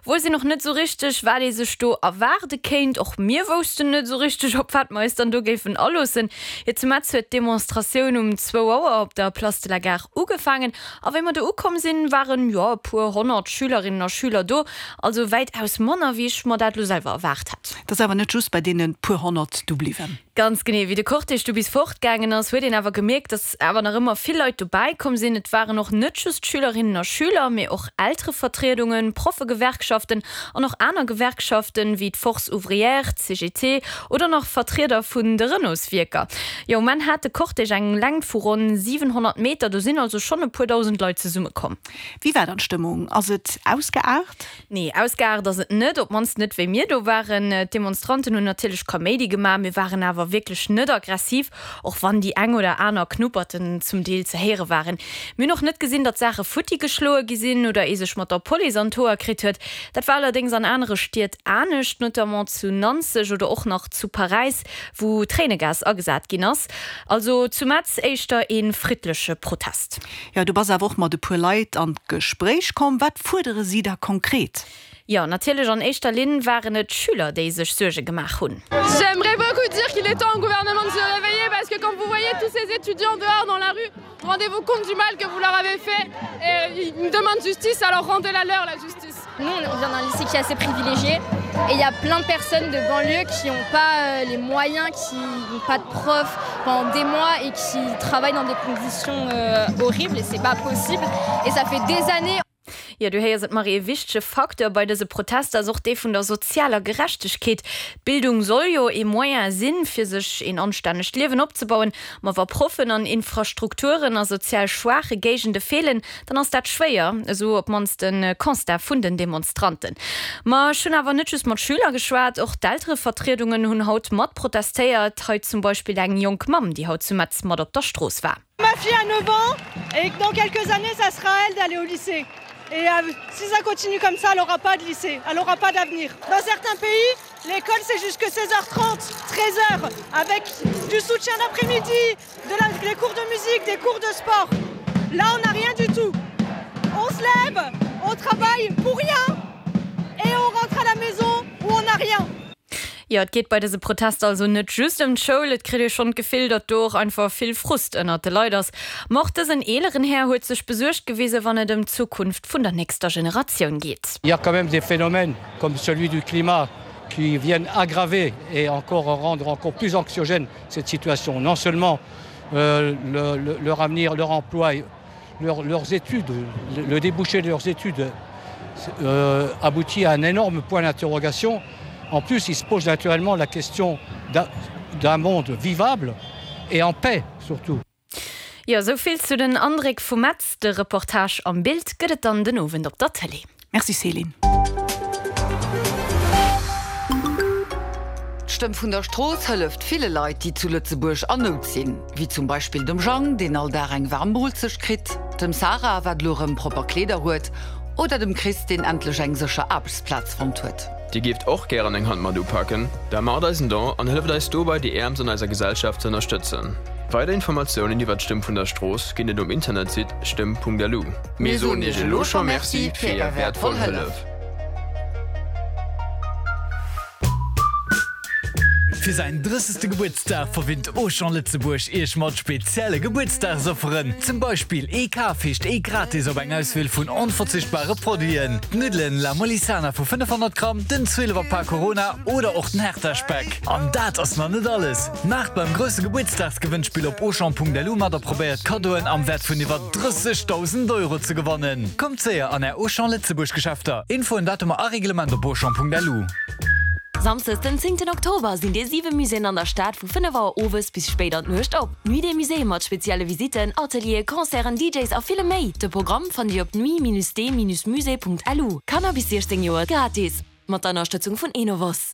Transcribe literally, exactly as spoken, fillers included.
Wousst een och net sou richteg, wat ee sech do erwaarde kéint. Och mir woussten net sou richteg, op wat mer eis dann do géifen aloossen. Jo, zu Metz huet d'Demonstratioun um zwou Auer op der Place de la Gare ugefaangen. A wéi mer do ukomm sinn, waren, jo, e puer honnert Schülerinnen a Schüler do. Also wäitaus manner, wéi ech mer dat lo selwer erwaart hat. Et ass awer net just bei deene puer honnert do bliwwen. Ganz genee. Wéi de Cortège du bis fortgaangen ass, huet een awer gemierkt, dass awer nach ëmmer vill Leit dobäi komm sinn. Et waren och net just Schülerinnen a Schüler, mee och Elterevertriedungen, Proffegewerkschaften an och aner Gewerkschaften, wéi d'Force Ouvrière, d'CGT oder nach Vertrieder vun de Renaultswierker. Jo, um Enn hat de Cortège eng Längt vu ronn siwenhonnert Meter, do sinn also schonn e puer dausend Leit zesummekomm. Wéi war dann d'Stëmmung? Ass et ausgeaart? Nee, ausgeaart ass et net, op d'mannst net wéi mir do waren. D'Demonstranten hunn natierlech Kaméidi gemaach, mee waren awer wierklech net aggressiv, och wann déi eng oder aner Knupperten zum Deel ze héiere waren. Mir hunn och net gesinn, datt Saache futti geschloe gi sinn oder ee sech mat der Police an d'Hoer kritt huet. Dat war allerdéngs an anere Stied anescht, notamment zu Nanzeg oder och nach zu Paräis, wou Tréinegas agesat ginn ass. Also zu Metz éischter ee friddleche Protest. Jo, du bass awer och mat e puer Leit an d'Gespréich komm. Wat fuerdere si da konkret? Jo, natierlech an éischter Linn waren et d'Schüler, déi sech Suerge gemaach hunn. J'aimerais beaucoup dire qu'il est temps au gouvernement de se réveiller parce que quand vous voyez tous ces étudiants dehors dans la rue, rendez-vous compte du mal que vous leur avez fait et ils demandent justice, alors rendez-la leur la justice. Nous, on vient d'un lycée qui est assez privilégié et il y a plein de personnes de banlieue qui n'ont pas les moyens, qui n'ont pas de profs pendant des mois et qui travaillent dans des conditions horribles et c'est pas possible et ça fait des années. Jo, du héiers et Marie, e wichtege Facteur bei dëse Protester ass och dee vun der sozialer Gerechtegkeet. D'Bildung soll jo ee Moyen sinn, fir sech een anstännegt Liewen opzebauen. Ma wa Proffen an Infrastrukturen a sozial schwaache Géigende feelen, dann ass dat schwéier, esou op d'mannst de Constat vun den Demonstranten. Ma ech hunn awer net just mat Schüler geschwat, och d'Elterevertriedungen hunn haut mat protestéiert. Hei zum Beispill eng jonk Mamm, déi haut zu Metz mat op der Strooss war. Ma fille a neuf ans et dans quelques années, ça sera à elle d'aller au lycée. Et euh, si ça continue comme ça, elle n'aura pas de lycée, elle n'aura pas d'avenir. Dans certains pays, l'école c'est jusque seize heures trente, treize heures, avec du soutien d'après-midi, de la, des cours de musique, des cours de sport. Là, on n'a rien du tout. On se lève, on travaille pour rien et on rentre à la maison où on n'a rien. Jo, et geet bei dëse Protester also net just ëm d'Schoul, et kritt ee schonn d'Gefill, datt do och einfach vill Frust ënnert de Leit ass. Ma och dësen eeleren Här huet sech besuergt gewisen, wann et ëm d'Zukunft vun der nächster Generatioun geet. Il y a quand même des phénomènes comme celui du climat qui viennent aggraver et encore rendre encore plus anxiogène cette situation. Non seulement euh, le, le, leur avenir, leur emploi, leur, leurs études, le, le débouché de leurs études euh, aboutit à un énorme point d'interrogation. En plus, il se pose naturellement la question d'un monde vivable et en paix surtout. Jo, sou vill zu den Andréck vu Metz. De Reportage am Bild gëtt et dann den Owend op der Tëlee. Merci Céline. D'Stëmm vun der Strooss hëlleft ville Leit, déi zu Lëtzebuerg an Nout sinn. Wéi zum Beispill dem Jang, deen all Dag eng waarm Moolzecht kritt, dem Sarah, wat lo rëm propper Kleeder huet, oder dem Chris, deen endlech eng sécher Aarbechtsplaz fonnt huet. Dir géift och gären eng Hand mat upaken? Da maacht eis en Don an hëlleft eis dobäi déi Äermst an eiser Gesellschaft ze ënnerstëtzen. Weider Informatiounen iwwer d'Stëmm vun der Strooss ginn et um Internetsite stëmm Punkt L U. Mir soen Iech elo scho Merci fir Är wäertvoll Hëllef. Fir säin drëssegste Gebuertsdag verwinnt Auchan Lëtzebuerg Iech mat spezielle Gebuertsdagsofferen. Zum Beispill ee Kaf heescht ee gratis op eng Auswiel vun onverzichtbare Produiten, d'Nuddelen La Molisana vu fënnefhonnert Gramm, den zwielefer Pak Corona oder och den Hertha-Speck. An dat ass nach net alles! Maacht beim grousse Gebuertsdagsgewënnspill op Auchan Punkt L U mat a probéiert Kaddoen am Wäert vun iwwer drëssegdausend Euro ze gewannen. Kommt séier an Är Auchan Lëtzebuerg Geschäfter. Infoen, Datumer a Reglement op Auchan Punkt L U. Samsdes den zéngten Oktober sinn déi siwe Muséeën an der Stad vu fënnef Auer owes bis spéit an d'Nuecht op. Nuit des Musées mat spezielle Visitten, Atelieren, Concerten, D Js a villem méi. De Programm fannt Dir op nuit-des-musées Punkt L U. Kanner bis siechzéng Joer gratis. Mat der Ënnerstëtzung vun Enovos.